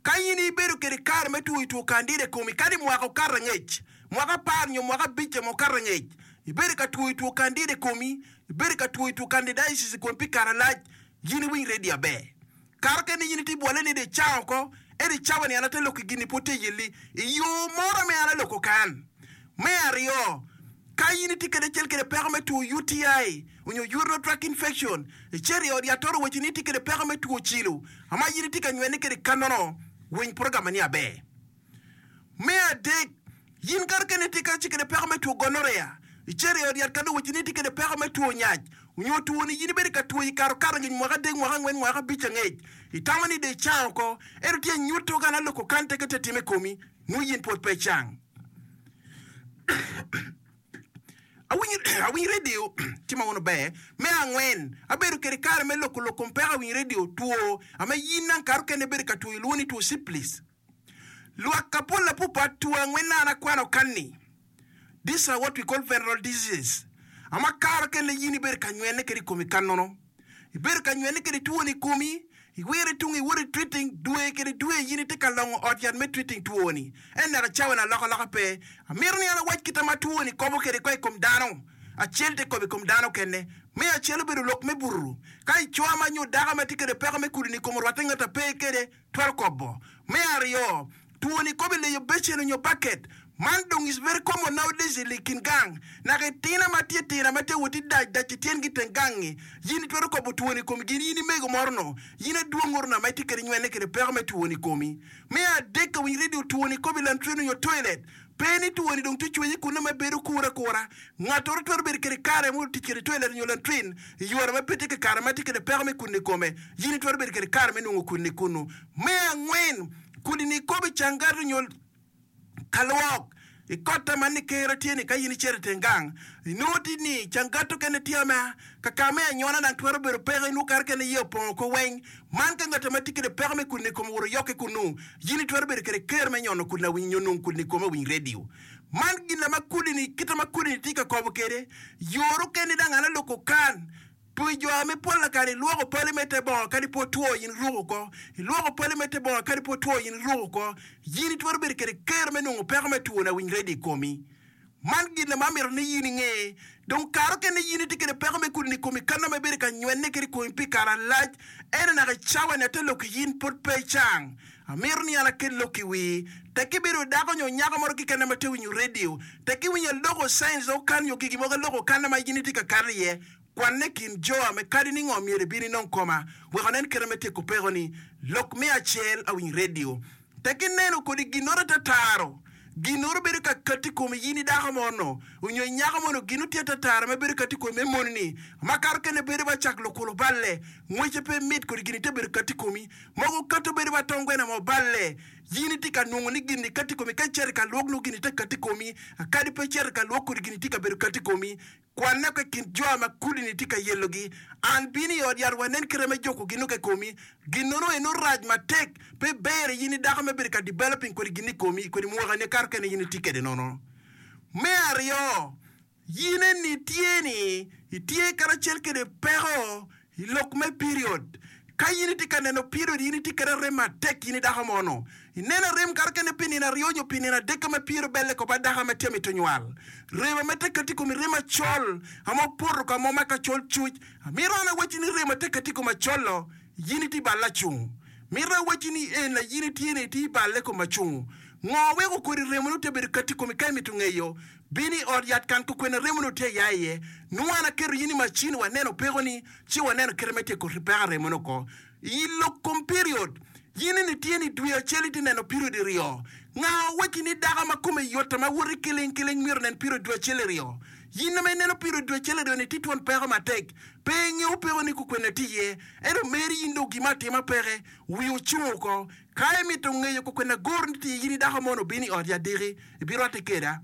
Ka in ibedo kede kare me twoyo two candida i komi, kadi mwaka okato angec, mwaka apar nyo mwaka abic ma okato angec, ibedo ka twoyo two candida i komi, ibedo ka twoyo two candidiasis i komi pi kare malac, in iwiny redio aber. Kare okene in itye bwolle ni dong icango oko, ento i cawa ni an ate lok ki gin-ni pud tye yelli i yo moro me an aloko kan. Me aryo, ka in itye kede acel kede peko me two UTI onyo urinary tract infection, icito i ot yat to owacci ni itye kede peko me two cilo ama in itye ka nywene kede kanono, winy program ni aber. Me adek, in kare kene itye kacel kede peko me two gonorrhea, icito i ot yat ka dong owacci ni itye kede peko me two nyac onyo two ni in ibedo ka twoyo i kare okato angec mwaka adek, mwaka angwen, mwaka abic angec, itamo ni dong icango oko, ento tye anyuto ka na loko kan teke tye atime i komi, nongo in pwod pe icang. Awiny redio tye ma wono ber. Me angwen, abedo kede kare me loko lok kom peko awiny redio two ame yin nang kare okene ibedo ka twoyo lwongo ni two syphilis. Lwak kapol apupa two angwen na an akwano kanni. These are what we call venereal diseases. Ama kare okene yin ibedo ka nywene kede i komi kanono. Ibedo ka nywene kede twoni i komi, iwire tung iwoto i treating, dwe kede dwe in itye ka longo ot yat me treating twoni. Ento naka cawa-ni alokaloka pe. Amito ni an awac kita ma twoni kobo kede ko i kom dano. Acel te kobo i kom dano kene. Me acel obedo lok me buto. Ka icoa ma nyo dako ma tye kede peko me kudini i kom orwatte ngat a pe kede, twero kobo. Me aryo, twoni kobo i leyo becen onyo baket. Man dong is very common nowadays i kin gang. Naka i tina ma tye tina ma tye wot i dac dac i tyengi i teng gang-ngi, yin itwero kobo twoni i komi gin in imego moro no, yin adwong oro na ma itye kede nywene kede peko me twoni i komi. Me adek ka winy radio twoni kobo i lantrin onyo toilet. Pe ni twoni dong tye cwenyi kunne ma bedo kure akura. Ngat oro twero bedo kede kare mo tic kede toilet onyo lantrin i yore ma pe tye kakare ma tye kede peko me kudni i kome. Yin itwero bedo kede kare me nongo kudni kunu. Me angwen, kudni kobo i cangat onyo ka lwok. I kotta man ni kero tye ni ka in icito i teng gang, inongo tye ni cangat okene tye ma kaka me anyona dang twero bedo peko inongo kare kene iye opongo oko weng. Man ka ngat ma tye kede peko me kudni i kome owoto yokke kunu, yin itwero bedo kede kero me nyono kudni awiny nyo nongo kudni i kome awiny radio. Man gin ma kudini, kite ma kudini tye ka kobo kede. Yore okene dang an aloko kan. Pi jo ame pol lakare ilwoko pali me te bongo kadi pe otwo in iruko oko. Ilwoko pali me te bongo kadi pe otwo in iruko oko. Yin itwero bedo kede kero me nongo peko me two lawiny redio i komi. Man gin ma amito ni yin inge. Dong kare okene yin itye kede peko me kudni i komi kano ma ibedo ka nywene kede i komi pi kare alac. Ento naka i cawa ni ate lok i yin pwod pe icang. Amito ni an akel lok i wii. Tek ibedo dako nyo nyako moro kekene ma te winyo redio. Tek iwinyo aloko signs okan nyo gigi mogo aloko kana ma yin itye ka kato iye. Kwanne kin jo ame kadi ni ngo myero ibin inong koma wek onen kite me tyeko pekoni. Lok me acel awiny redio. Tek ineno kodi ginnoro atataro, ginnoro bedo ka kati komi yin idako mo-no onyo inyako mo-no ginno tye atataro ma bedo kati komi me moni-ni makato kene bedo ba cak lukulu balle ngwece pe mit kodi gin te bedo kati komi mogo kato bedo ba tongwena mo balle yin itye ka nongo ni gin-ni kati komi ka icito i ka lwok nongo gin-ni te kati komi kadi pe icito i ka lwok kodi gin-ni tye ka bedo kati komi Kwanne oko i kin jo ma kudini tye ka yelogi. An bino i ot yat wanen kite me juko gin-nu ki i komi. Ginnono eno rac matek, pe ber i in i dako me bedo ka developing kodi gin i komi kodi mwakani akato kene in itye kede nono. Me aryo, in eni tye ni itye karacel kede peko I lok me period, ka in itye ka neno period in itye kede arem matek in idako mono. Ineno arem kare kene pi nino aryo nyo pi nino adek ka ma period obelle ko ba dako ma tye mito nywal. Remo ma tye kati komi remo acol ama opoto ka mo ma ka col cuc. Amito an awacci ni remo tye kati kom acol-lo in itye balle acungu. Mito awacci ni en in itye ni itye balle kom acungu. Ngo weko kodi remo ni tye bedo kati komi ka imito ngeyo? Bin i ot yat kan kokwena remoni otye ya iye. Nongo an aketo in i macin waneno pekoni ci waneno kite me tyeko peko remoni oko. I lok kom period, in eni tye ni dwe acel itye neno period iryo. Nga owacci ni dako ma kome yot ma woto kiling kiling myero onen period dwe acel iryo? In ma ineno period dwe acel iryo ni tye twon peko matek. Pe ingeyo pekoni kokwena tye iye. Ento meri in dong gima atima peke, wi ocung oko. Ka imito ngeyo kokwena goro ni tye in i dako mono bin i ot yat diki. Ibirwatte keda.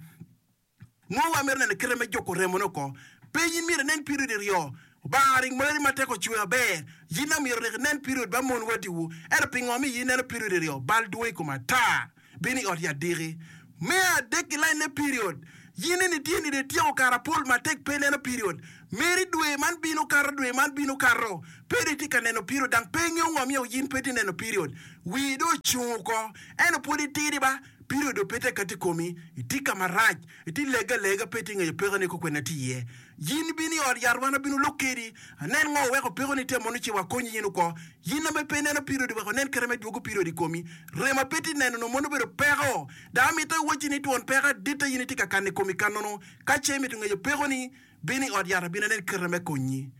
Nongo wamito neno kite me juko remone oko. Pe in myero inen period iryo. Obanga ring mari matek ocwe aber. Yin dong myero rik inen period ba mon wadiwu. Ento pingo mi in ineno period iryo? Bal dwong i kom ata. Bin i ot yat diki. Me adek i line me period. Yin eni tye ni dong ityeko kare apol matek pe ineno period meri dwe man bino kato dwe man bino kato pe dong itye ka neno period dang pe ingeyo ngo myero yin pe itye neno period wii dong ocung oko ento pwod itidi ba period dong pe tye ka kati ikomi itye ka marac itye lege alega pe itye ngeyo peko ni kokwene tye iye. Yin ibino i ot yat wan abino lok kedi, anen ngo weko pekoni tye mono ci wakonyi in oko. Yin ame pe ineno period wek onen kite me dwogo period i komi. Rem a pe tye neno no mono obedo peko. Dok amito iwacci ni twon peko adita yin itye ka kano i komi kanono. Ka ce imito ngeyo pekoni, bin i ot yat abino anen kite me konyi.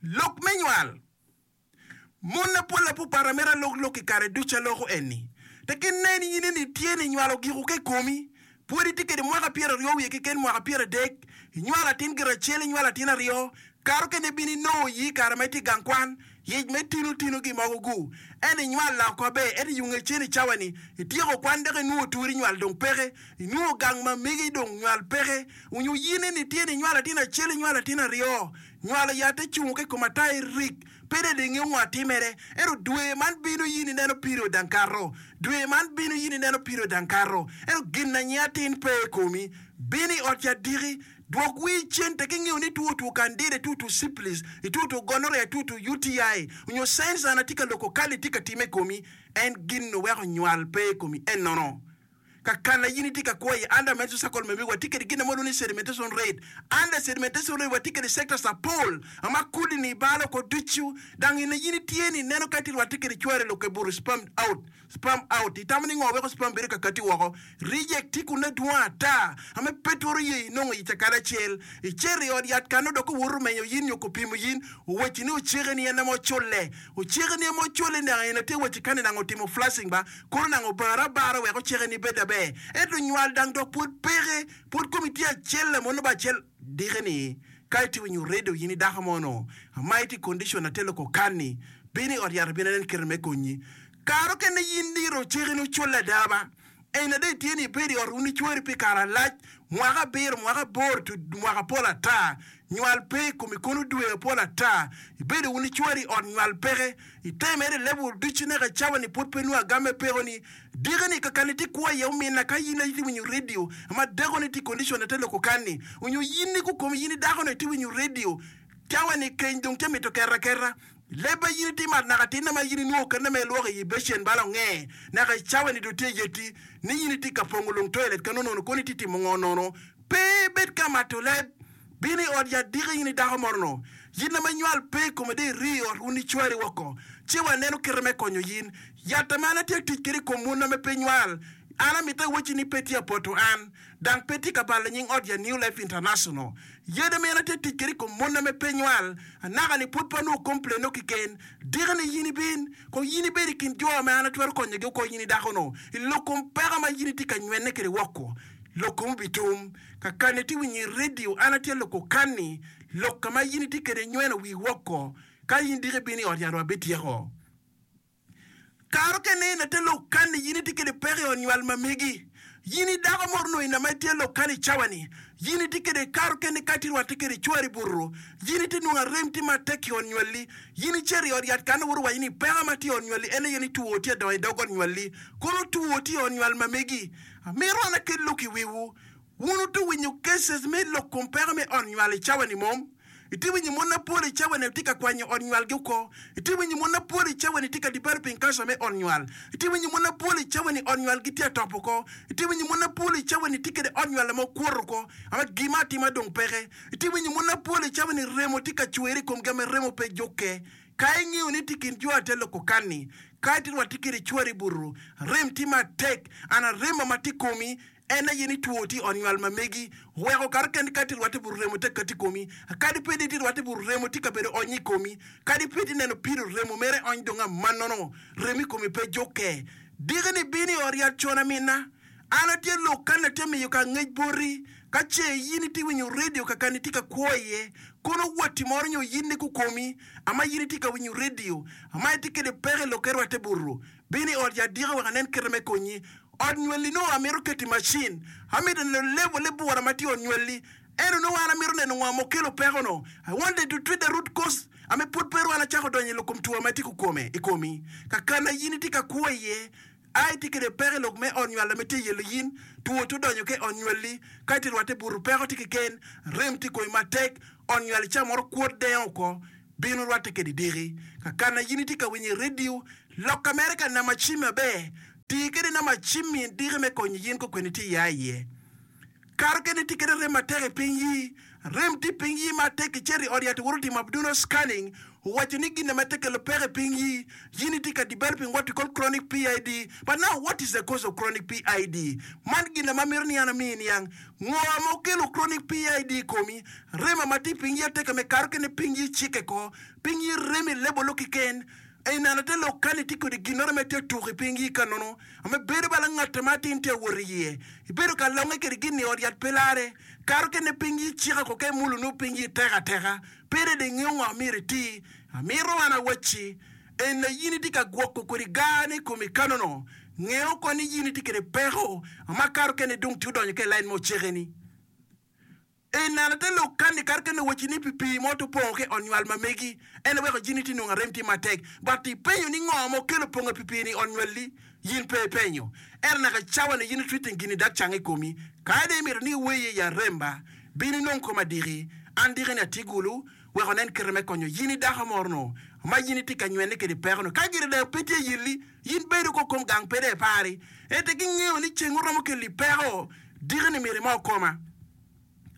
Lok me nywal. Mon mapol apupat amito alok lok i kare ducu aloko eni. Tek inen in eni tye ni nywalo giko ka i komi, pwod itye kede mwaka pyeraryo wiye keken mwaka pyeradek, inywalo atin gire acel inywalo atin aryo, kare okene ibino inongo iyi i kare ma itye i gang kwan, yec me tino tino gi mogo gu. Ento inywal loko aber, ento i yunge cen i cawa ni ityeko kwan dok inwongo tweri nywal dong peke, inwongo gang ma megi dong nywal peke, onyo in eni tye ni inywalo atin acel inywalo atin aryo, Nywalo yat-te cungo ki i kom ata irik, pe dong ingeyo ngo atimere. Ento dwe man bino in ineno period dang kato, dwe man bino in ineno period dang kato, ento gin na nyinge atin pe i komi. Bin i ot yat diki, dwok wii cen tek ingeyo ni two two candida, two two syphilis, two two gonorrhea, two two UTI, onyo signs an atye ka loko kali tye ka time i komi, en gin nu weko nywal pe i komi enono. Ka kana in itye ka kwo iye, under menstrual cycle me watye kede gin mo lwongo ni sedimentation rate. Under sedimentation rate watye kede sectors apol ma kudi ni balo oko ducu. Dang in in itye ni neno ka itye rwatte kede cwari lok ebuto sperm out, sperm out. Itamo ni ngo weko sperm bedo ka kati woko? Reject tye kune dwong ata ame pe twero ye inongo ic akada acel. Icito i ot yat kano dok owoto omenyo yin nyo kopimo yin, owacci ni oceke ni en ame oculle. Oceke ni ame oculle naka en atye wacci kani nanga otimo flashing ba. Kono nanga obare abara wek oceke ni bed aber, ento nywal dang dok pwod peke, pwod komi tye acel lamone ba acel dike ni ka itye winyo redio in i dako mo no ama itye i condition ate loko kanni bin i ot yat abin anen kite me konyi. Kare okene in diro oceke ni oculle ada ba en ada itye ni ibedo i ot wun icweri pi kare alac mwaka abiro mwaka aboro to mwaka pol ata nywal pe i komi kono dwe apol ata ibedo wun icweri i ot nywal peke Ite mere i level ducu naka cawa ni pwod pe nongo agam me peko ni diki ni kakani itye kwo iye omina ka yin aye itye winyo radio ma dako ni tye i condition ate loko kan ni onyo yin ni kukomi yin idako ni itye winyo radio cawa ni keny dong tye mito keto aketa leb ma yin itimo at naka tinne ma yin inwongo kene ma ilwoko iyi becen balo nge naka i cawa ni dong tye yeti ni yin itye ka pongo lung toilet kano nono kono itye timo ngo nono pe ibed ka mato leb Bin i ot yat diki in i dako moro-nu, yin ma nywal pe i kome dong iri i ot wun icwari woko, ci waneno kite me konyo yin. Yat ma an atye ka tic kwede i kom wun ma pe nywal, an amito iwacci ni pe tye apoto an, dang pe tye ka balo nying ot ya New Life International. Yadi ma an atye ka tic kwede i kom mon ma pe nywal, anaka-ni pwod pe anongo kompleno keken. Diki-ni yin ibin, kong yin ibed i kin jo ma an atwero konyogi oko in i dako-nu, i lok kom peko ma yin itye ka nywene kwede woko. Lok kom obitum. Kakani itye winyo i redio, an atye loko kanni, lok ka ma in itye kwede nyweno wii woko, ka in diki ibino i ot yat wabityeko. Kare okene in ate lok kanni in itye kwede peko i ot nywal ma megi. In i dako mo onongo ina ma itye lok kanni i cawa ni, in itye kwede kare okene ka itye rwatte kwede cwari buto, in itye nongo arem tye matek i ot nywalli, in icito i ot yat kanni woto waco ni peko ma tye i ot nywalli en aye ni two tye adongo i dog ot nywalli, kono two tye i ot nywal ma megi. Amito an akel lok i wiwu. Wun wuto winyo cases me lok kom peko me ot nywal i cawa ni mom? Itye winyo mon mapol i cawa ni tye ka kwanyo ot nywal gi oko? Itye winyo mon mapol i cawa ni tye ka developing cancer me ot nywal? Itye winyo mon mapol i cawa ni ot nywal gi tye atop oko? Itye winyo mon mapol i cawa ni tye kede ot nywal ma okwoto oko ama gima atima dong peke? Itye winyo mon mapol i cawa ni remo tye ka cwer i kom gi ama remo pe jukke? Ka ingeyo ni tye kin jo ate loko kanni, ka itye rwatte kede cwari buto, rem tye matek, an arema ma tye komi En aye ni two tye i ot nywal ma megi, oweko kare kene ka itye rwatte but remo tek kati i komi. Kadi ped itye rwatte but remo tye ka bedo ony i komi, kadi ped ineno pido remo mere ony dong amannono, remo i komi pe jukke. Diki ni bin i ot yat con aminna. An atye lok kani atye miyo ka ngec boti, ka ce in itye winyo redio ka kani itye ka kwo iye, kono watti moro nyo in ni kukomi ama in itye ka winyo redio ama itye kede peko i lokke rwatte butu. Bin i ot yat diki wek anen kite me konyi. Ot nywali nongo amito keto i macin. Amito neno level bura ma tye i ot nywali. Ento nongo an amito neno ngo ma okelo peko no. I wanted to treat the root cause ame pwod pe rwal acako donyo i lok kom two ma tye kukome i komi. Kakana in itye ka kwo iye. A itye kede peko i lok me ot nywal ame tye yelo yin, two tye odonyo ki i ot nywalli, ka itye rwatte buto peko tye keken, rem tye i komi matek, ot nywal ca moro kwot dengo oko, bino rwatte kedi diki. Kakana yin itye ka winyo i redio, loka mere ka nama cim maber, tii kede nama cim-mi diki me konyo yin kokwene itye iya iye. Kare kene itye kede rem matek i piny yi, rem tye i piny yi matek icito i ot yat iwoto timo abdominal scanning owaco ni gin ma tye kelo peko i piny yi, yin itye ka developing what we call chronic PID but now what is the cause of chronic PID? Man gin ma amito ni an amiyi niang ngo ma okelo chronic PID i komi, rema ma tye i piny yi ateka me kare kene piny yi cikke ko, piny yi rem i lebolo kiken. I neno te lok ka ni tye kodi ginnoro me tye tuk i piny yi ka nono ame bedo bala ngat ma atin tye awot iye. Ibedo ka longe kede gin ni ot yat pe lare. Kato kene piny yi cika ko ka imulo nongo piny yi tek ateka. Pe dong ingeyo ngo myero iti. Amito an awacci en na yin itye ka gwoko kodi gar ni komi ka nono ngeyo ko ni yin itye kede peko ma kato kene dong tye odonyo ka i lain me oceke ni. I neno te lok kani kadi kene wacci ni pi pii mo to pongo ki ot nywal ma megi en weko jini ti nongo arem tye matek but ipenyo ni ngo ma okelo pongo pi pii ni i ot nywalli yin pe ipenyo ento naka cawa ni yin i treating gini dak cang i komi kadi imito ni iweye i arem ba bin inong koma diki an diki ni atye gulu wek onen kite me konyo yin i dako moro no ma yin itye ka nywene kede peko no ka gire dong pe tye yelli yin bedo ko kom gang pe dong ipari ento gingeyo ni ceng oromo keli peko diki ni myero imo koma.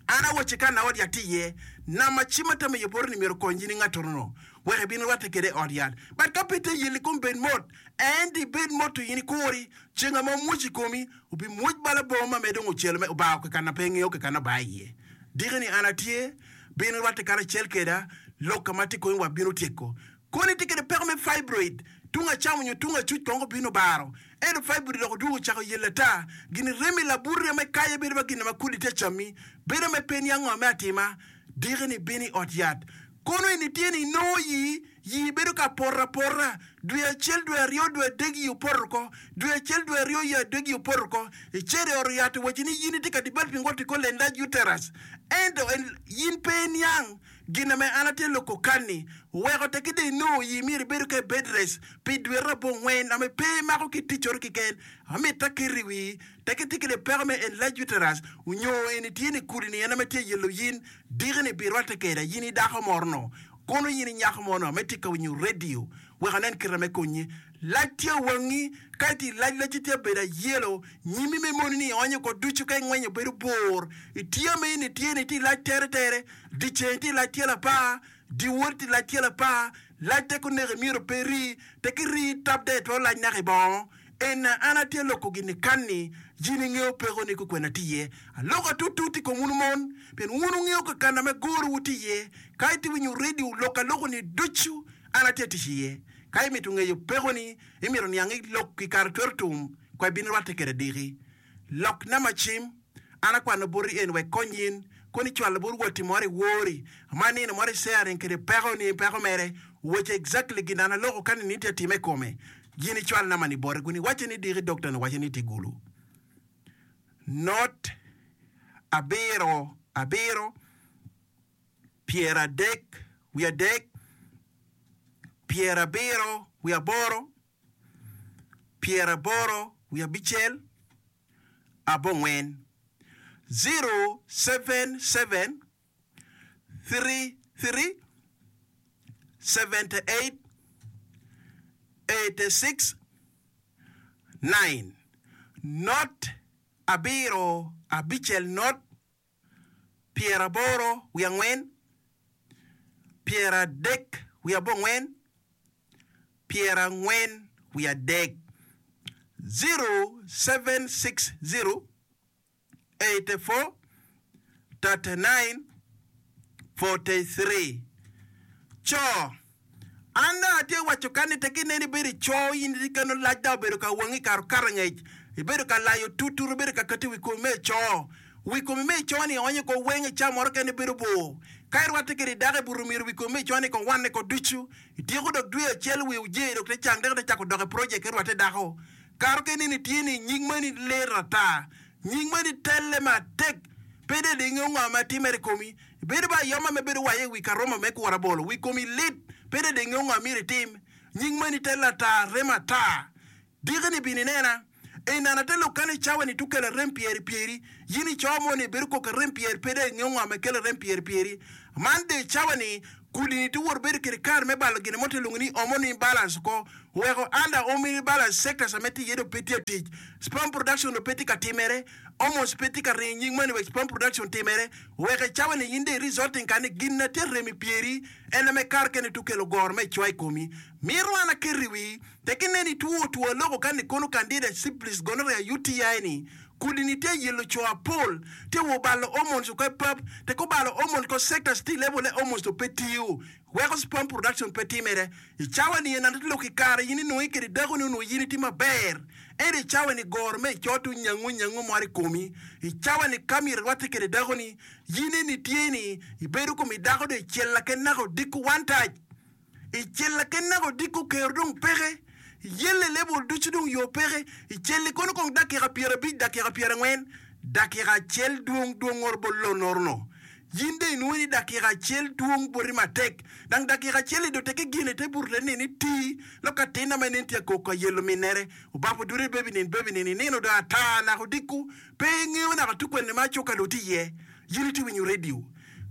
An awacci ka na ot yat tye iye, nam ma cim atamo iye boti ni myero okony in i ngattono-nu, wek ibin irwatte kede i ot yat. But ka pe tye yelli kom bed mot, ento ibed mot to in ikuri, ceng ame omwoc i komi, obimwoc bala bongo ma me dong ocelo me obao kekana pe ingeyo kekana obaa iye. Diki ni an atye, bin irwatte karacel keda, lok ka ma tye i komi wabino tyeko. Kono itye kwede peko me fibroid, tung acam onyo tung acuc kong obino obaro. Ento fibroid dok odwogo ocako yelo ata. Gin rem i labuti ame kaye bedo ma gin ma kodi tye acammi, bedo me pe niang ngo me atima. Diki ni bino i ot yat. Kono eni tye ni inongo yii, yii bedo ka poto apota. Dwe acel, dwe aryo, dwe adek yii opoto oko. Dwe acel, dwe aryo, yii adek yii opoto oko. Icito i ot yat owaci ni yin itye ka developing what we call enlarged uterus. Ento yin pe iniang. Gin ame an atye loko kanni oweko tekki dong inongo yi myero ibedo ka i bed rest pi dwete abongwen ame pe imako ki ticcoro kiken. Amitta keto i wii tekki itye kede peko me enlarged uterus onyo eni tye ni kudi ni en ame tye yelo yin diki ni bi rwatte keda yin i dako moro no kono yin i nyako mo no ame tye ka winyo radio wek anen kite me konyi. Lac tye wangi ka itye i lac lacci tye abedo ayelo nyimi me moni ni ionyo ko ducu ka ingwenyo bedo bor itye ame in itye ni itye i lac tere tere. Dyeceng tye i lac tyelo apar, dyewor tye i lac tyelo apar, lac tek oneki myero pe iri, tek iri tab dong itwero lac naka i bongo. Ena an atye loko gin-ni kan-ni, jin ingeyo peko-ni kukwena tye iye. Aloko atutut i kom wun mon, pien wun wungeyo kakana me gorowu tye iye. Ka itye winyo redio lok aloko-ni ducu, an atye tic iye. Ka imito ngeyo peko-ni, imito niang i lok i kare twero tum, kwa ibin irwatte kwede diki. Lok nama cim. An akwano boti en wek kony in, kun icwalo bot watti moro i wori, ma nino moro i sharing kede peko ni peko mere, owaco exactly gin an aloko ka nini tye atime i kome, gin icwal nama ni bote kun iwace ni diki doctor ni owace ni itye gulu. Not abiro abiro pyeradek wiye adek pyerabiro wiye aboro pyeraboro wiye abicel abongwen, 077 33 78 86 9 Not abiro abicel not pyeraboro wiye angwen pyeradek wiye abongwen pyerangwen wiye adek, 0760 84 39 43. Co, An dong atye waco ka ni tek ineno ibedo i co in itye keno lac dok obedo ka wangi kare okato angec, ibedo ka layo tutut, ibedo ka keto i wi komi me co. Wi komi me co ni onyo ko weng i ca moro kene bedo bor. Ka irwatte kede dako i buto myero wi komi me co ni kong wanne ko ducu. Ityeko dok dwe acel wi ojei dok te cang dek te cako dok i project ki rwatte dako. Karo ke nini tye ni nying mani lit ata. Nying mani telle matek. Pe de dong ingeyo ngo ma timere i komi. Ibedo ba ayoma me bedo waye i wi karoma me kuro abolo. Wi komi lit. Pe de dong ingeyo ngo myero itim. Nying mani telle ata, remo ata. Diki-ni bin inena. Enana te lok kany i cawa ni tukelo arem pyeri pyeri. Yin i co mo ni ibedo koko arem pyer pe dong ingeyo ngo ma kelo arem pyeri pyeri. Man dong i cawa ni kudi ni tuwot bedo kede kare me balo gine mo te lwongo ni hormone imbalance oko weko under hormone imbalance sectors ame tye iye dong pe tye atic. Sperm production dong pe tye ka timere. Hormones pe tye ka ringo i nying moni wek sperm production timere. Weko i cawa ni yin dong i resulting kany ni gin na tye arem i pyeri en ame kare kene tukelo goro me cwa i komi. Mito an aket i wii Tek inen itwo two aloko ka ni kono candida syphilis gonorrhea UTI ni kudi ni tye yelo coo apol tye wo balo hormones oko epap tek obalo hormones ko sectors tye i level ne hormones to pe tiyo weko sperm production pe timere i cawa ni en lok i kare in inonge kede dako ni onongo in itye maber ento i cawa ni goro me ico to nyango nyango moro i komi i cawa ni ka myero irwate kede dako ni in eni tye ni ibedo komi dako do icel laken naka odiko one touch. I cella ki naka odiko kero dong peke, yelle lebol ducu dong yo peke. I celli kono kong dakika pyerabic, dakika pyerangwen, dakika acel dwong dwong oro bot lonorono. Yin dong inwongo ni dakika acel dwong boti matek. Dang dakika acel-li dong tekke gin ite buto te nini ti lok atinna ma inen tye akok ka yelo minnere. Obapo dute bebi nin bebi nin inino dong ata naka odiko pe ingeyo naka tukwene ma acuka dong tye iye. Yin itye winyo radio.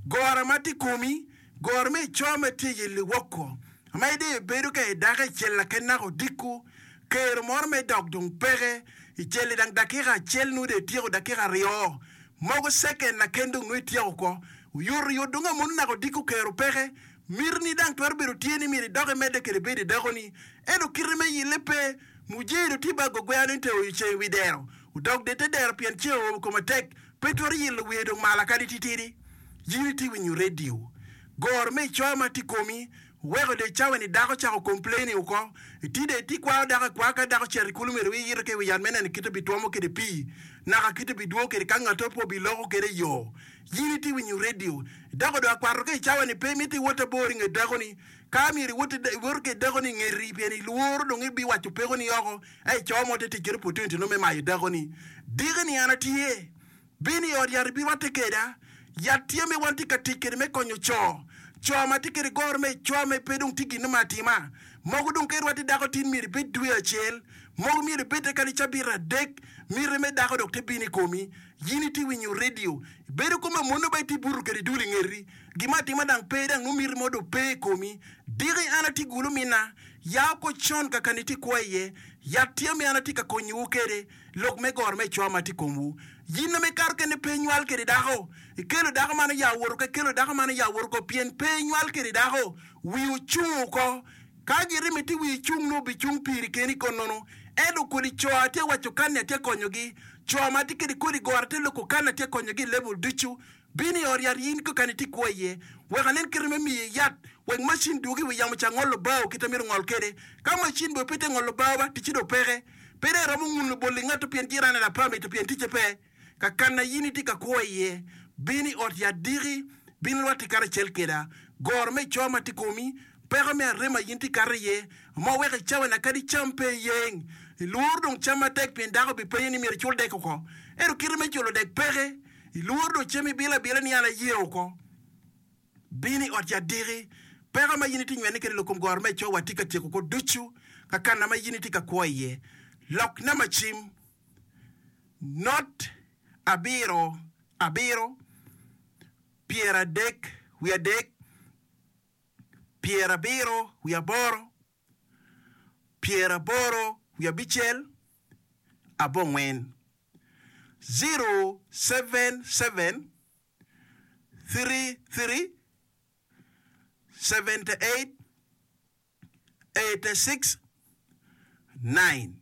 Gora ma tye i komi Goro me ico ma tye i liwoko ma idong ibedo ka idako i cel laken naka odiko, kero moro me dok dong peke i cel-li dang dakika acel nongo dong ityeko dakika aryo mogo ceken laken dong nongo ityeko oko oyotoyot dong amono naka odiko kero peke mitini dang twero bedo tye ni myero idok imedde kede bedo i dakoni ento kite me yille pe mujee dong tye ba gogwea ni te oyo ceng i wi dero odok de te dero pien ceng oomo kome tek pe twero yilo wiye dong malo kadi titidi. Yin itye winyo radio. Goro me icoya ma tye i komi weko dong icawa ni dako cako complaining oko. Iti dong iti kwao dako akwa ka dako ocito i kulu myero wii iyito ki i wi yat me neno kite bitwomo kede pii naka kite bidwogo kede ka ngato pe obiloko kede i yoo. Yin itye winyo radio. Idoko dong akwato ka icawa ni pe imito iwot abor i nget dako ni. Ka myero iwot iwoto kede dako ni ingeti pien ilworo dong ibiwaco peko ni oko a ico mo te tic kede opportunity no me mayo dako ni. Diki ni an atye. Bin i ot yat ibirwatte keda. Yat tye me wan tye ka tic kede me konyo co. Co ma tye kede goro me ico me pe dong tye gin me atima. Mogo dong ka irwatte dako tin myero ibed dwe acel. Mogo myero ibedde kadi cabit adek. Miti me dako dok te bino i komi. Yin itye winyo radio. Ibedo kome amono ba itye buto kede dul i ngeti. Gin me atima dang pe dang nongo miti mo dong pe i komi. Diki an atye gulu mina. Ya oko con kakani itye kwo iye. Yat tye me an atye ka konyowu kede. Lok me goro me cwa ma tye i komwu. Yin ame ikato kene pe inywal kede dako. Ikelo dako man oya woto ko, ikelo dako man oya woto ko, pien pe inywal kede dako. Wii ocung oko. Ka girimi ti wii cung nongo obicung piri keni konono. Ento kodi co atye waco kan ni atye konyogi. Co ma tye kede kodi goro atye loko kan ni atye konyogi i level ducu. Bin i ot yat in kekeni itye kwo iye, wek anen kite me miyi yat, wek macin dwogi i wi yamo ca ngolo bao kite myero ongol kwede. Ka macin bene pe tye ngolo bao ba, ticce dong peke. Pe dong iromo nguno bol i ngatto pien jirane dok pe amito pien ticce pe. Kakanna in itye ka kwo iye, bin i ot yat diki, bin irwatte karacel kweda. Goro me co ma tye i komi, peko me arem ma in itye kato iye, ma weko i cawa-ni kadi cam pe iyeng. Ilworo dong cam matek pien dako bipenyo ni myero icul dek oko. Ento kite me culo dek peke. Ilworo dong cem ibilo abila ni an aye oko. Bin i ot yat diki. Peko ma in itye nywene kwede lok kom goro me cowa tye ka tyeko oko ducu ka kana ma in itye ka kwo iye. Lok namba cim, Not abiro abiro 33 78 85 abongwen. 077 33 78 86 9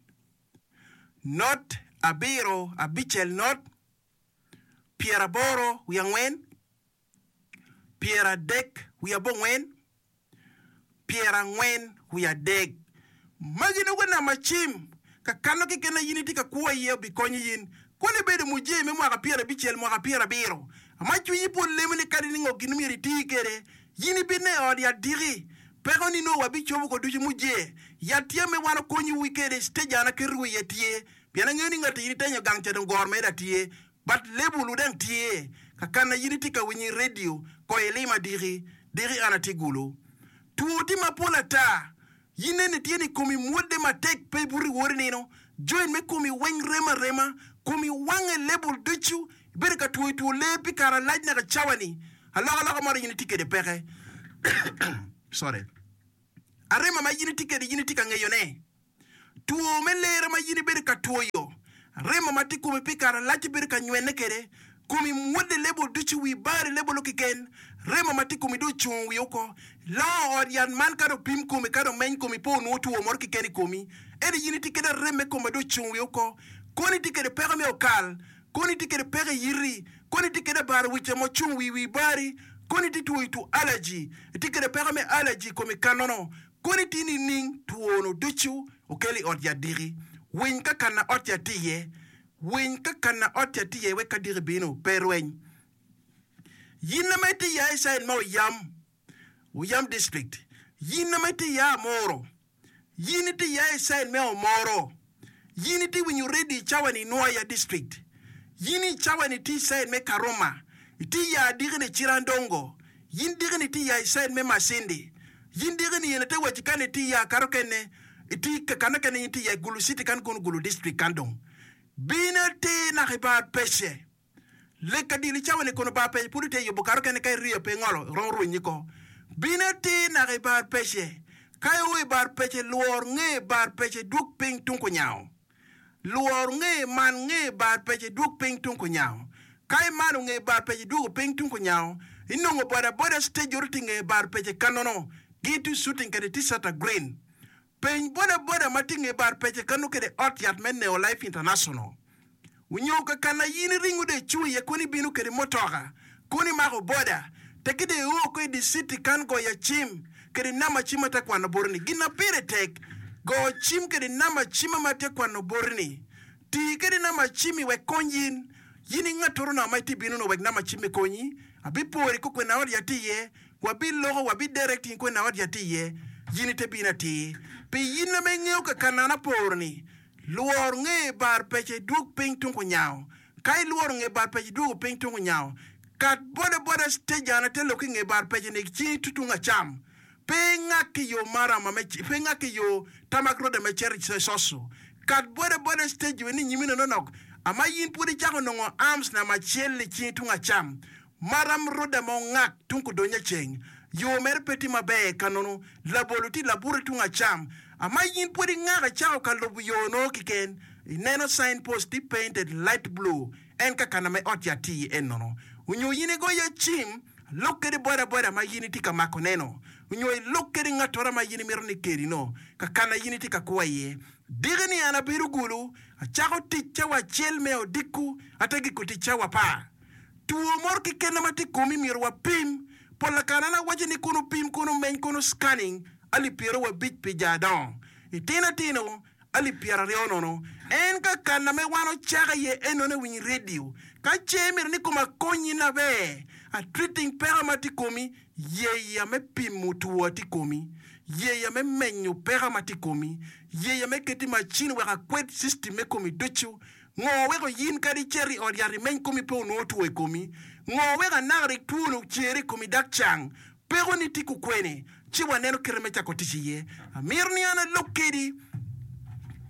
Not abiro abicel not pyeraboro wiye angwen pyeradek wiye abongwen, pyerangwen wiye adek. Magi nongo namba cim ka kano keken ma in itye ka kwo iye obikonyo in. Kono ibedo mujee me mwaka pyerabicel, mwaka pyerabiro, ma cwinyi pwod lemo ni kadi ni ngo gin myero iti kwede, in ibine i ot yat diki. Peko ni nongo wabicobo ko ducu mujee. Yat tye me wan okonyowu kwede, stage an aketowu iye tye. Pien angeyo ni ngat in itenyo gang ca dong goro mere tye. But label wu dang tye ka kana yin itye ka winyo i radio ko ilima diki diki an atye gulu. Two tye mapol ata. Yin eni tye ni komi mwodde matek pe ibuto iwot inino, joint me komi weng rem arema, komi wange lebul ducu, ibedo ka twoyo two ler pi kare alac naka cawa ni, alokaloka moro in itye kwede peke. Sorry. Arema ma in itye kwede in itye ka ngeyone. Two me lera ma in ibedo ka twoyo, remo ma tye i komi pi kare malac ibedo ka nywene kwede, komi mwodde lebo ducu, wi bari lebo lok keken, remo ma tye i komi dong ocung wiye oko. Longo ot yat man ka dong opim komi, ka dong omeny komi, pe onongo two mo keken i komi. Ento in itye kede arem me kom ma dong ocung wiye oko. Kono itye kede peko me okal, kono itye kede peko i yiti, kono itye kede abaro wic ma ocung wi wi bari, kono itye twoyo two allergy, itye kede peko me allergy i komi kanono, Koni tye nining two-nu ducu okel i ot yat diki? Winy ka kana ot yat tye iye. Winy ka kana ot yat tye iye wek ka diki bino, pe irweny. Yin ma itye ya i cain me Oyam, Oyam District, yin ma itye ya Amuru, yin itye ya i cain me Omoro, Yin itye winyo redio i cawa ni i Nwoya District. Yin i cawa ni itye i caid me Karuma. Itye ya diki ni Cirandongo. Yin diki ni itye ya i caid me Masindi. Yin diki ni yen ate waci kan itye ya kato kene itye ka kene yin itye ya i Gulu City kan kono Gulu District kan dong. Bin atir naka i bar pece. Lek ka dilo i cawa-ni kono bar pece pud itye yubo kato kene ka iriyo pe ingolo iromo rwenyi ko. Bin atir naka i bar pece. Ka io i bar pece lwor nge bar pece dwog piny tung kunyango. Lwor nge man nge bar pece dwog piny tung kunyango. Ka imano nge bar pece idwogo piny tung kunyango inongo boda boda stage oro tye nge bar pece kanono gin tye shooting kede t-shirt green. Peny boda boda ma tye nge bar pece kano kede ot yat me Neo Life International. Onyo ka kana in iringo dong icung iye kono ibino kede mutoka, kono imako boda, tekki dong io oko i di citi kan goya cim kede namba cim ma atye ka kwano boti ni. Gin ma pire tek, go cim kede namba cim ma atye ka kwano boti ni. Ti kede namba cim-mi wek kony in. In i ngatoro no ma itye bino no wek namba cim-mi konyi. Abipori kokwena ot yat tye iye, wabiloko, wabi directing kwena ot yat tye iye. In ite bino atir. Pi in ma ingeyo ka kana an aporo ni, Lwor nge bar pece idwog piny tung kunyango. Ka ilworo nge bar pece idwogo piny tung kunyango, kat boda boda stage an ate lok ki nge bar pece ni cingi tye tung acam. Pe ingak ki yo marama me pe ingak ki yo tamak road me cito i Coco. Kat boda boda stage we ni nyimi nononok ama in pwod icako nongo arms namba acel i cingi tung acam. Maram roda ma ongak tung kudonyo ceng, yo mere pe tye maber ka nono labolo tye labute tung acam. Ama in pwod ingako icako ka lubo yo no kiken, ineno sign post tye painted light blue en ka kana me ot yat tye iye en nono. Onyo in igoya cim, lok kede boda boda ma in itye ka mako neno, onyo ilok kede ngatora ma in imito ni kedi no ka kana in itye ka kwo iye. Diki ni an abedo gulu, acako tic cawa acel me odiko ate giko tic cawa apar. Two moro keken ma tye i komi myero wapim. Pol kare an awaco ni kono pim, kono meny, kono scanning alip pyerawabic pi ja adongo. Itino atino alip pyeraryo nono. En ka kana me wan ocako iye enone winy radio. Ka ce imito ni koma konyi naber, a treating peko ma tye i komi, yeya me pimo two tye i komi, yeya me menyo peko ma tye i komi, yeya me keto i macin wek akwed system me komi ducu. Ngo weko in kadi icito i ot yat imeny komi pe onongo two i komi? Ngo weko anaka rik twoni ocere i komi dok cang? Pekoni tye kukwene? Ci waneno kite me cako tic iye. Amito ni an alok kedi.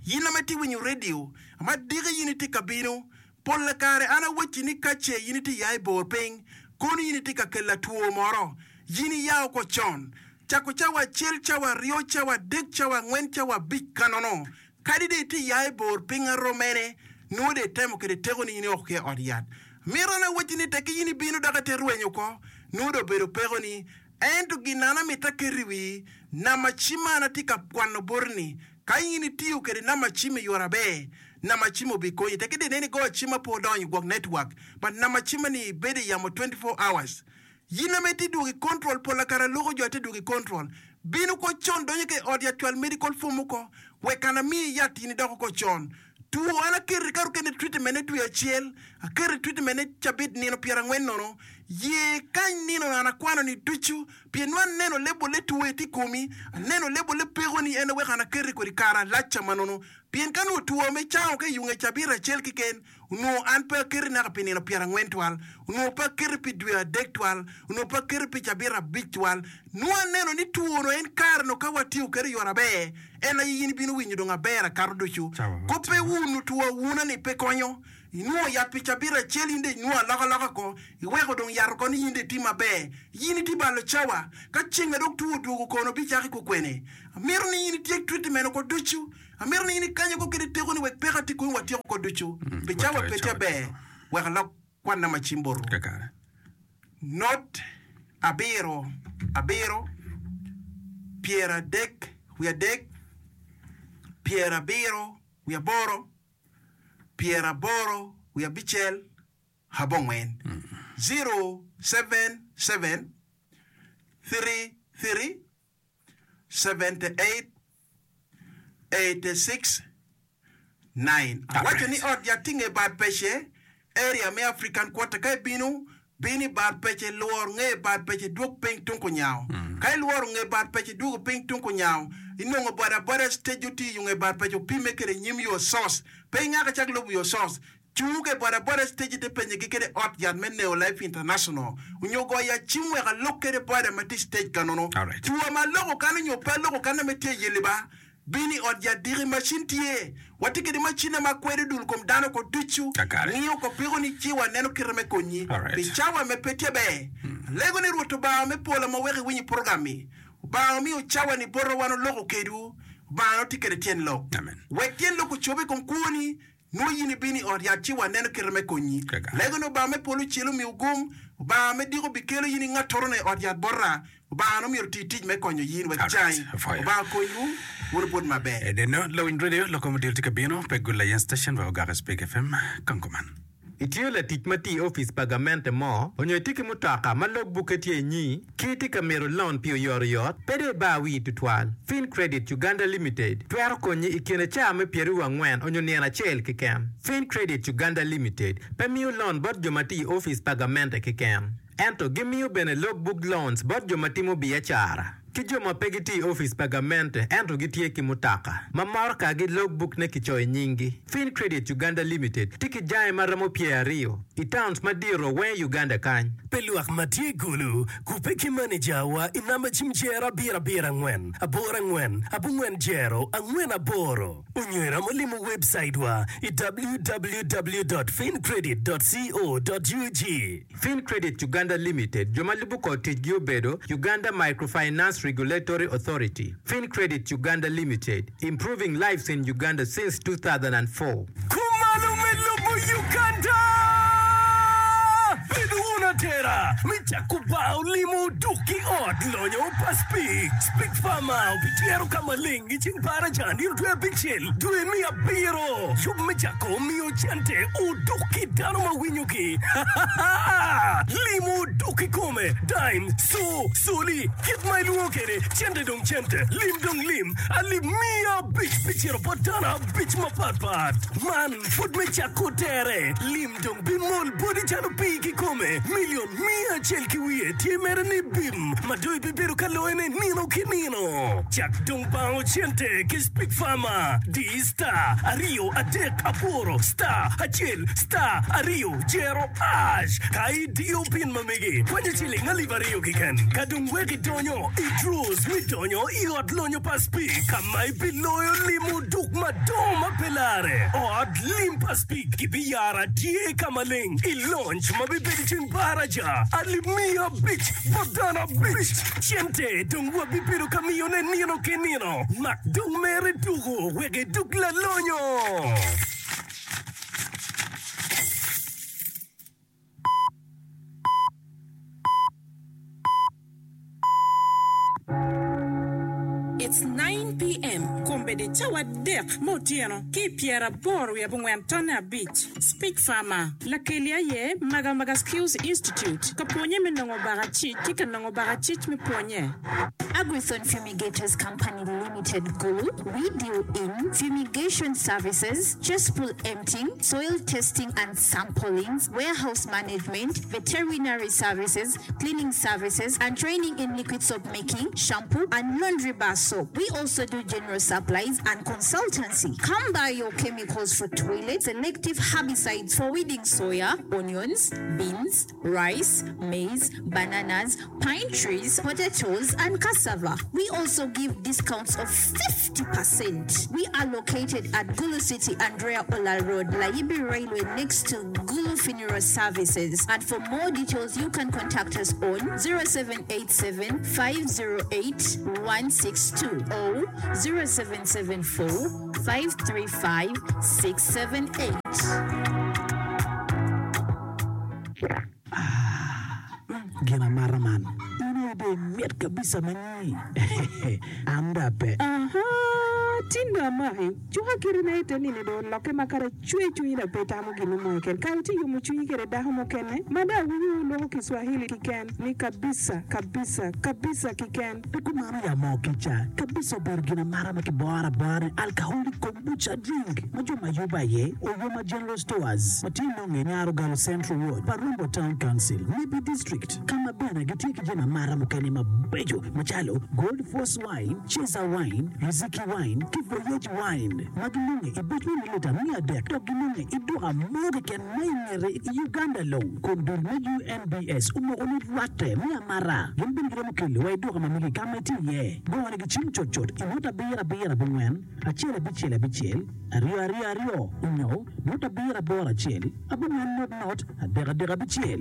In ma itye winyo redio, ma diki in itye ka bino, pol kare an awacci ni ka ce in itye ya i bor piny, kono in itye ka kela two moro. In iya oko con. Cako cawa acel, cawa aryo, cawa adek, cawa angwen, cawa abic kanono. Kadi dong itye ya i bor piny aroo mene, nongo dong itemo kwede tekoni in ioko ki i ot yat. Mito an awacci ni tekki in ibino dok ite rwenyo oko, nongo dong obedo pekoni. Ento gin an amito aket i wii, namba cim ma an atye ka kwano boti-ni, ka in itiyo kwede namba cim i yore aber, namba cim obikonyi. Tekki dong ineno igoyo cim ma pe odonyo gwok network, but namba cimma-ni bedo i yamo 24 hours. Yin ame itye dwogo i control pola kare aloko jo atye dwogo i control bino ko con donyo ka i ot yat cwal medical form oko wek an amiyi yat in idoko ko con two an aketo i kato kene treatment ne dwe acel aketo i treatment ne cabit nino pyerangwen nono Ye kany nino an akwano-ni ducu, pien nongo aneno lebolle two tye i komi, aneno lebolle pekoni, en aye weko an aketi kodi kare alacca ma nono. Pien ka nongo two me cango ka i yunge cabit acel keken, onongo an pe aketi naka pi nino pyerangwen twal, onongo pe aketi pi dwe adek twal, onongo pe aketi pi cabit abic twal. Nongo aneno ni two-nu en kare-nu ka watiyo kwede i yo aber, en aye in ibino winyo dong aber akato ducu. Kop pe wunu two awuna-ni pe konyo. Inwongo yat pi cabit acel in dong inwongo alokaloka ko, iweko dong yat oko ni in dong itye maber. In itye balo cawa. Ka ceng adok two odwogo kono bicaki kukwene? Amito ni in ityek treatment oko ducu. Amito ni in ikany oko kede tekoni wek peko atye komi watyek oko ducu. Pi cawa pe tye ber, wek alok kwanna ma cim botwu. Not abiro abiro, pyeradek wiye adek, pyerabiro wiye aboro, pyeraboro wiye abicel abongwen, 077 33 78 86 9. Awaco ni ot yat tye nge bar pece, area me African Quarter ka ibino, bin i bar pece lwor nge bar pece dwog piny tung kunyango. Ka ilworo nge bar pece idwogo piny tung kunyango, inongo boda boda stage otye i nge bar pece opime kede nyim your source. Pe ingak icak lubo your source. Cung i boda boda stage ite penye gi kede ot yat me Neo Life International onyo go ya cim wek alok kede boda ma tye i stage ka nono. Tua ma aloko kan onyo pe aloko kan ame tye i yeli ba. Bin i ot yat diki macin tye. Watye kede macine ma kwedo dul kom dano ko ducu. Ngiyo ko piko ni ci wa neno kite me konyi. Pi cawa me pe tye ber. Alego ni Rwot Obanga me polo ma weko iwinyo program mi. Obanga omiyo cawa ni bota wan oloko kedwu. Obanga no tye kede tyen lok. Wek tyen lok ocobe i kom kwoni. Nwo in ibino i ot yat ci waneno kite me konyi. Lego ni Obanga me polo ocel omiwu gum. Obanga me diko bikelo in i ngattorone i ot yat bota. Obanga no myero oti tic me konyo yin wek icangi. Obanga okonywu, wun wubut maber. Edeno, lawiny radio, lok kom odilo tye ka bino, pe gul layen station wek ogak i Speke FM, Kango man. Itye latic ma tye i opic pa gamente mo, onyo itye ki mutoka ma log bukke tye inyi, ki itye ka mito lon pi oyotoyot, pe dong ibar wii tutwal. Fin Credit Uganda Limited twero konyi i kine caa me pyeraryo angwen onyo nino acel keken. Fin Credit Uganda Limited pe miyo lon bot jo ma tye i opic pa gamente keken, ento gimiyo bene log book loans bot jo ma timo biacara. Ki jo ma pe gitye i opic pa gamente ento gitye ki mutoka ma morokagi logbook-ne kicoyo nyinggi. Fin Credit Uganda Limited tye ki jange ma romo pyeraryo i towns madito weng i Uganda kany. Pi lwak ma tye i Gulu, kubbe ki manejawa i namba cim jero abiro abiro angwen aboro angwen abongwen jero angwen aboro onyo iromo limo webcaitwa i www dot fincredit dot co dot ug. Fincredit Uganda Limited, jo ma lubo kor ticgi obedo, Uganda Microfinance Regulatory Authority, Fincredit Uganda Limited, improving lives in Uganda since 2004. Kumalo me lobo Uganda! Bed wun atera me cako bar olimo duk ki ot lonyo pa Speke. Speke Farmer obityero ka maleng i ceng baraja nino dwe abicel dwe me abiro. Yub me cako miyo cente oduk ki dano ma winyogi. Limo oduk kikome, dime, co, coli, kit ma ilwongo kwede, cente dong cente, lim dong lim, alip miya abic pi cito bot dano abic mapatpat. Man pud me cako tere, lim dong bimol boti calo pii kikome. Milion miya acel ki wiye tye mere ni bim ma dong ibibedo ka loyone nino ki nino. Cak dong bango cente ki Speak Farmer. Di star aryo adek aboro star acel star aryo jero ash ka idiyo pin ma megi kwanyo ciling alip aryo keken ka dong wek idonyo i draws me donyo i ot lonyo pa Speke ka ma ibiloyo limo duk madongo ma pe lare. Ot lim pa Speke gibiyaro atye ka maleng i lonc ma bibedo i ceng baraja alip miya abic bot dano abic. Cente dong wabibedo ka miyone nino ki nino. Mak dong mere tuko wek idug lalonyo. It's 9 PM, Kombeddi. cawa adek me otyeno ki i pyeraboro wiye abongwen tonne abic. Speech Farmer, Lakeli aye Magamaga Skills Institute ka pwonye me nongo bakacic ki ka nongo bakacic me pwonye. Agrithon Fumigators Company Limited Gulu, We deal in fumigation services, cesspool emptying, soil testing and samplings, warehouse management, veterinary services, cleaning services, and training in liquid soap making, shampoo, and laundry bar soap. We also do general supplies and consultancy. Come buy your chemicals for toilet, selective herbicides for weeding soya, onions, beans, rice, maize, bananas, pine trees, potatoes and cassava. We also give discounts of 50%. We are located at Gulu City, Andrea Olal Road, Layibi Railway next to Gulu Funeral Services and for more details you can contact us on 0787 508 162 or 0774 535 678. Gin amata man in aye dong imit kabisa ma nyi an dong ape. Ahaa, tin dong amaki. Cuka kiti na ite nini dong olokke ma kadi acwe cwinyi dong pe itamo gin mo keken. Kare itye yomo cwinyi kede dako mukene ma dong awinyo wuloko Kiswahili kiken ni kabisa, kabisa, kabisa kiken. Pe kumano ya moo kica kabisa obedo gin amata ma kiboro abora ni alcoholic kombucha drink ma jo ma yubo aye Oyoma General Stores ma tye nonge i Nyarogalo Central Ward pa Rombo Town Council, Nebbi District ka ma bene gitye ki jami amata mukene mabeco macalo Gold Force Wine, Cesar Wine, Riziki Wine ki Voyage Wine ma ginonge i buc me milita 300 dok ginonge i duka mo keken ma i ngete i Uganda long kun dul me UNBS omoko ni rwatte me amata gin bene giromo kelo wa i duka ma megi ka ma itye iye. Gone gi cim cutcut i nota abiro abiro abongwen acel abicel abicel aryo aryo aryo onyo nota abiro aboro acel abongwen not not adek adek abicel.